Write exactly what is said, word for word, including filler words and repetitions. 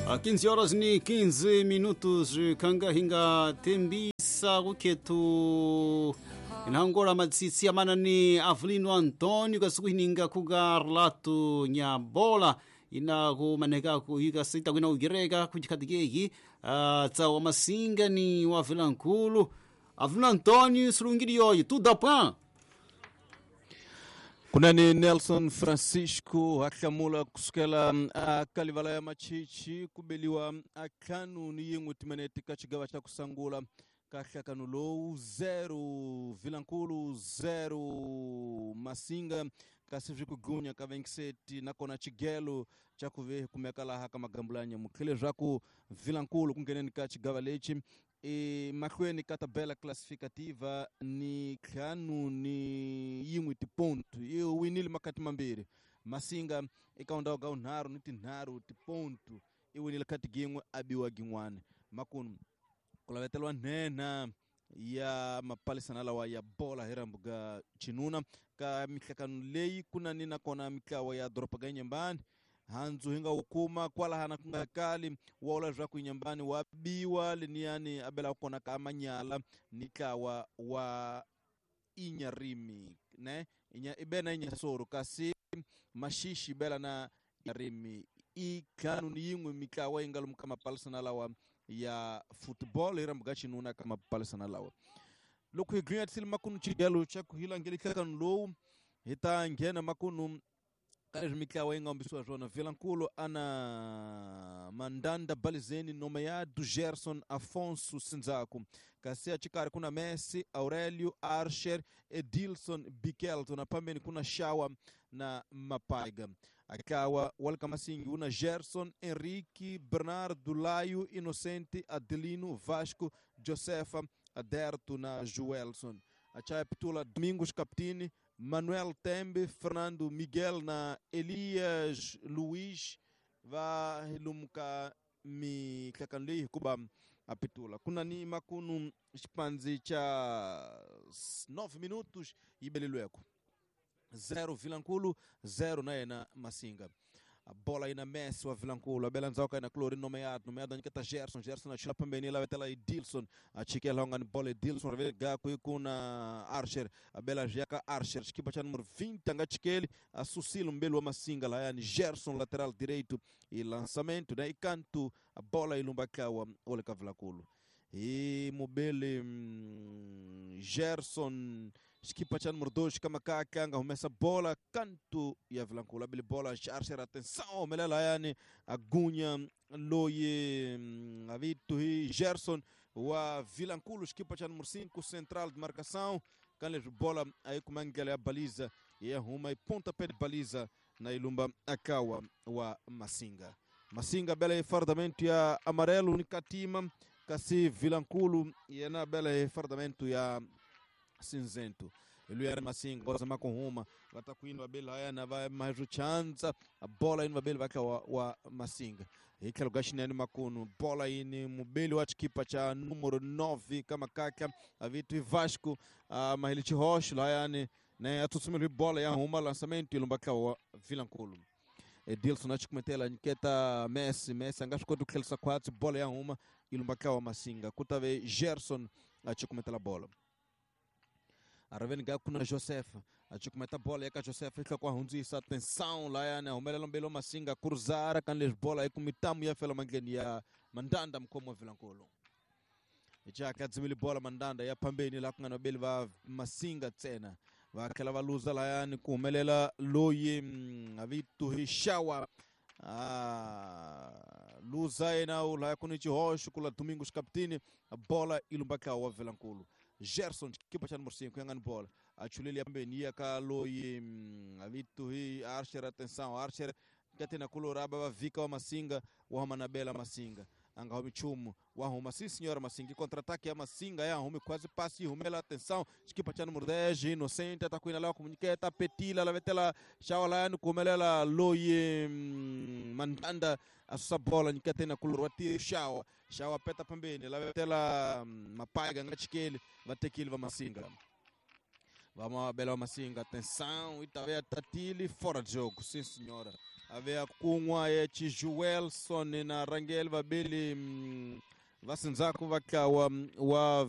A quinze horas ni quinze minutos kanga hinga tembisa kuketu inhangora matsitsi amana ni Avelino Antonio kasukuhininga kuga relato nyabola ina kumaneka kuika sita kwina ugireka kuchikhatikeki uh, tsawa masinga ni wa Vilankulu Avelino Antonio sulungili yoyi tudo pan. Kunani Nelson Francisco ahlamula kusukela akalivala ya machichi kubeliwa akhanu ni yin'we timinete ka xigava xa kusangula ka nhlakano lowu zero Vilankulu zero Masinga kasi swi ku gunya ka veintisete nakona xigelo xa ku ve kumeka laha ka magambulanya mutlhele leswaku Vilankulu ku ngheneni ka xigava lexi e mahlweni ka tabela classificativa ni ntlhanu ni yin'we tipontu yi winile makati mambirhi Masinga eka ndhawu ka vunharhu ni tinharhu tipontu i winile kati gin'we a biwa gin'wana makunu ku laveteliwa nhenha ya mapalisana lawa ya bola hi rambu ga chinuna ka mihlakano leyi ku na ni nakona mitlawa ya doroba ga Inhambane handzu hi nga wu kuma kwalahana ku nga kali wa vula leswaku Inhambane wa biwa leniyani a bela kona ka manyala ni ntlawa wa Inyarimi ne inya ibe na Inyasoro kasi Maxixe bela na Inyarimi i ntlhanu ni yin'we mitlawa yi nga lomu ka mapalisana lawa ya football hi rambu ga xinuna ka mapalisana lawa loko hi gwinya makunu xigelo xa ku hi langele nhlakano lowu hi ta nghena makunu ka leswi mitlawa yi nga humbisiwa swona Vilankulu ana Mandanda Balizeni nomeado Gerson Afonso Sinzaku kasi axikarhi kuna Messi Aurelio Archer Edilson Bikelto na pambeni kuna Shawa na Mapaiga akawa walka Masingi una Gerson Henrique Bernardo Laio Inocente Adelino Vasco Josefa Aderto na Joelson achaya Pitula Domingos Captini Manuel Tembe Fernando Miguel na Elias Luiz va hilumuka mihlakano leyi hikuva a pitula kuna ni makunu xipandzi xa nove minutos yi belelweko zero Vilankulu zero na yena Masinga a bola aí na Messi wa Vilankulu a bela ndzhaku ka yena Clorino nomeado nomeado a nyiketa Gerson Gerson a chula pembeni la vetela Edilson a chikela ongani bola Edilson rivele gaku ikuna Archer a bela jeka Archer xikipa xa número vinte a nga chikeli a susile mbeli wa Masinga layani Gerson lateral direito e lançamento né e canto a bola ilumba kawa ole ka Vilankulu e mobele hum, Gerson xikipa xa número dois kamakaka anga humesa bola canto ya Vilankulu abele bola Archer atenção humelela yani agunya loyi avitu hi Gerson wa Vilankulu xikipa xa número cinco central de marcação kan bola aí kumangela ya baliza ya huma e pontapé de baliza na ilumba akawa wa Masinga Masinga bela e fardamento ya amarelo ni katima kasi Vilankulu yena bela e fardamento ya cinzento ele era Masinga bola zama com Roma vai tá com indo bela haya na vai mais o chance a bola indo bela vai wa, wa Masinga e aquele gashinani makuno bola ini mubeli wa chikipa cha número nove kama kaka avitu Vasco a mahilichi rocha lá yani né atutsumile bola ya Roma lançamento ilumba wa Vilankulu Edilson achikumetela nyiketa Messi Messi anga swi koti ku tlherisa khwatsi bola ya huma ilumba wa Masinga kutave Gerson achikumetela bola araveni ga kuna Joseph achikumeta bola ya ka Joseph tlha kwa hundzisa atenção lá ya humelela mbelo Masinga cruzar kan les bola aí com mitamu ya fela mangeni ya Mandanda mkomo wa Vilankulu ichaka dzimili bola Mandanda ya pambeni la kungana beli va Masinga tsena va tlhela va luza layani ku humelela loyi avitu hi Shawa ah, luza yena u laya ku ni xihoxo kula Domingos Captini bola ilumba ka wa Vilankulu Gerson xikipa xa número cinco yangani bola achuleli pambeni ya ka loyi avitu hi Archer atenção Archer katina kuloraba va vika wa Masinga wa huma na bela Masinga anga humi chumu wa huma sim senhora Masinga contra-ataque ya Masinga ya humi quase passe humela atenção xikipa xa número dez Inocente atakuina la comuniceta petila la vetela shawa la kumelela loyi Mandanda asusa bola nyikatena kulorwa ti shawa shawa peta pambeni la vetela mapaiga nga chikeli vatekile va Masinga vamos bela wa Masinga atenção itavea tatili fora de jogo sim senhora ave akun'wa ya Chijuelson na Rangel vabeli mm, va sindzhaku va ntlawa wa